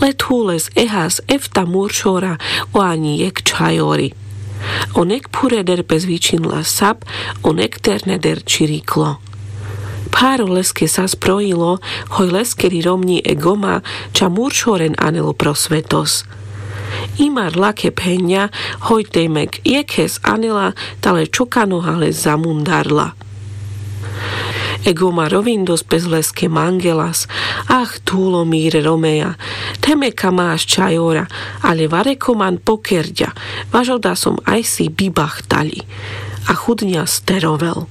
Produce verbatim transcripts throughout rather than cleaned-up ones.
Le thules ehas efta muršora o ani jekh čhajori. O nekphureder pes vičhinla sap, o nekterneder čiriklo. Pharo leske sas projilo, hoj leskeri romňi e goma ča muršoren anelo pro svetos. Imar lakhe phenňa, hoj te mek jekhes anela, tale čokanoha les zamundarla. E goma rovindos pes leske mangelas: Ah, thulo, mire romeja, the me ka maš čhajora, ale vareko man pokerďa, vaš oda som ajsi bibachtali. A chudňa sterovel.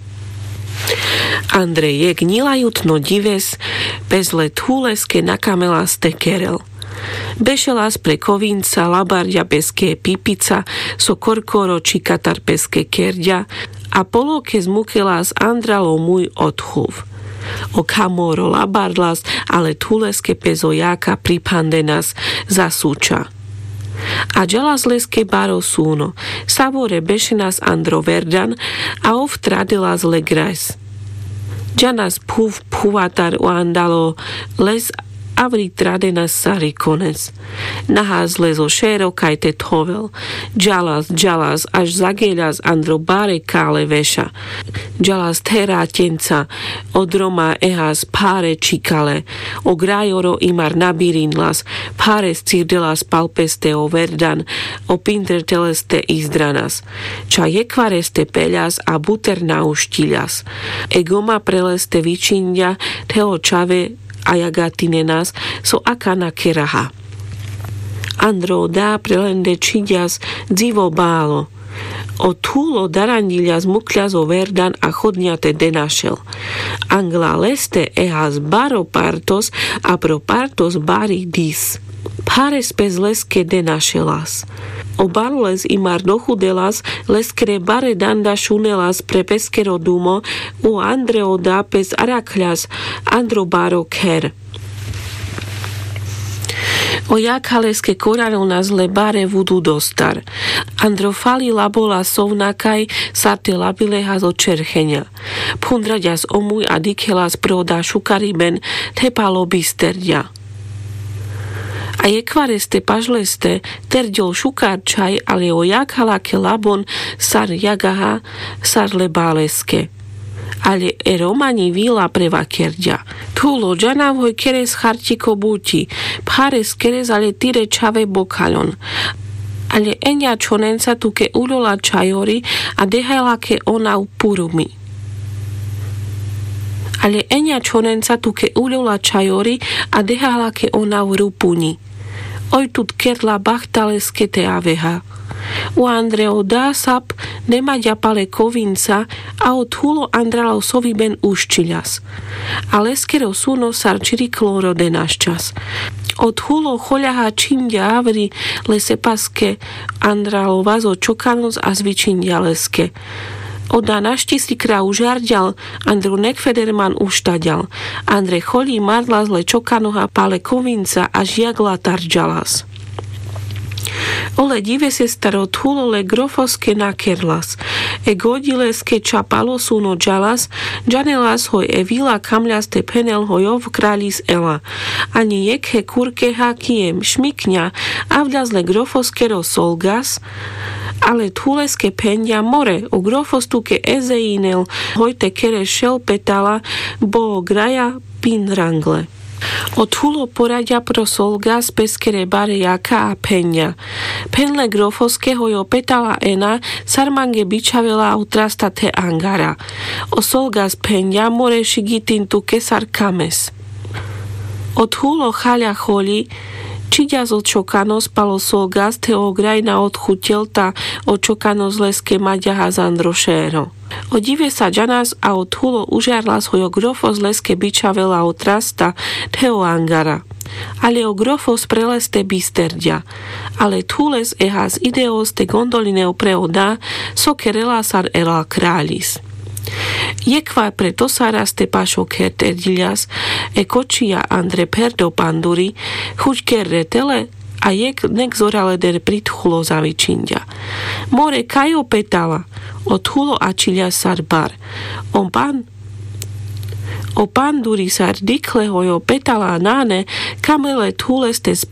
Andre jekh ňilajutno ďives pes le thuleske nakamelas te kerel. Bešelas pre kovinca, labarďa peske pipica so korkoro čikatar peske kerďa, a polo kes mukelas Andralo muj o thuv. O khamoro labarlas, ale thuleske pes o jaka priphandenas za suča. A džalas leske baro suno, savore bešenas Andro verdan, a ov tradelas le grajs. Džanas phuv phuvatar o Andalo les, avri tradenas sar i kones. Nahas les o šero kaj te thovel. Džalas, džalas, až zageľas Andro bare kale veša. Džalas thera ťenca, o droma ehas phare čikale. O grajoro imar nabirinlas, phare scirdelas pal peste o verdan, o pindre te leste izdranas. Ča jekhvareste peľas a buter naušťiľas. E goma pre leste vičinďa the o čhave a jagatinenas so akana keraha. Andro o da pre lende čhiďas dzivo balo. O thulo daranďiľas, mukľas o verdan a chodňa te denašel. Angla leste ehas baro partos a pro partos bari dis. Phares pes leske denašelas. O baro les imar dochudelas, leskere bare danda šunelas pre peskero dumo, u Andre o da pes arakhľas Andro baro kher. O jakha leske koranonas le bare vudu dostar. Andro fali labola sovnakaj sar te labilehas o čercheňa. Phundraďas o muj a dikhelas pro da šukariben the palo bisterďa. A jekhvareste paš leste terďol šukar čhaj, ale o jakha lakhe labon sar jagaha sar le baleske. Ale e romaňi vila prevakerďa: Thulo, džanav hoj keres charťiko buťi, phares keres ale tire čhave bokhaľon. Ale eňa čhonenca tuke uľola čhajori a deha lakhe onav purumi. Ale eňa čhonenca tuke uľola čhajori a deha lakhe onav rupuňi. Oj tut kerla bachtaleske te aveha. U Andre o da sap nemaďa pale kovinca a o thulo Andralo soviben uščiľas. A leskero suno sar čiriklo ro denaščas. O thulo choľaha čhinďa avri, lese paske Andralo vazo čokanos a zvičinďa leske. O da našti sikra užarďal, Andro nekfeder man uštaďal. Andre choľi marlas le čokanoha pale kovinca, až jagla tarďalas. Ole ďive sestar, o thulo le grofoske nakerlas. E goďi leske ča palo suno džalas, džanelas hoj e vila kamľas te phenel hoj ov kraľis ela. Ani jekhe kurkeha kijem šmikňa avľas le grofoskero solgas, ale thuleske phenďa: More, o grofos tuke ezejinel hoj te kere šel petala, bo o graja pindrangle. O thulo poraďa pro solgas peskere bare jakha a phenďa: Phen le grofoske hoj o petala ena sar mange bičhavela otrasta the angara. O solgas phenďa: More šigitin tuke sar kames. O thulo chaľa choľi, čhiďas o čokanos pal o solgas the o graj na odchuteľ ta o čokanos leske maďahas Andro šero. O ďive sa džanas a o thulo užarlas hoj o grofos leske bičhavela otrasta the o angara. Ale o grofos pre leste bisterďa. Ale thules ehas ideos te gondolinev pre o da so kerela sar ela kraľis. Jekhvar pre tosaras te pašo kher terďiľas, e kočija Andre pher do panduri, chuďker re tele, a jekh nek zoraleder pri thulo zavičinďa: More, kaj o petala? O thulo ačhiľas sar bar. O pan o panduri sar dikhle hoj o petala nane, kamele thules te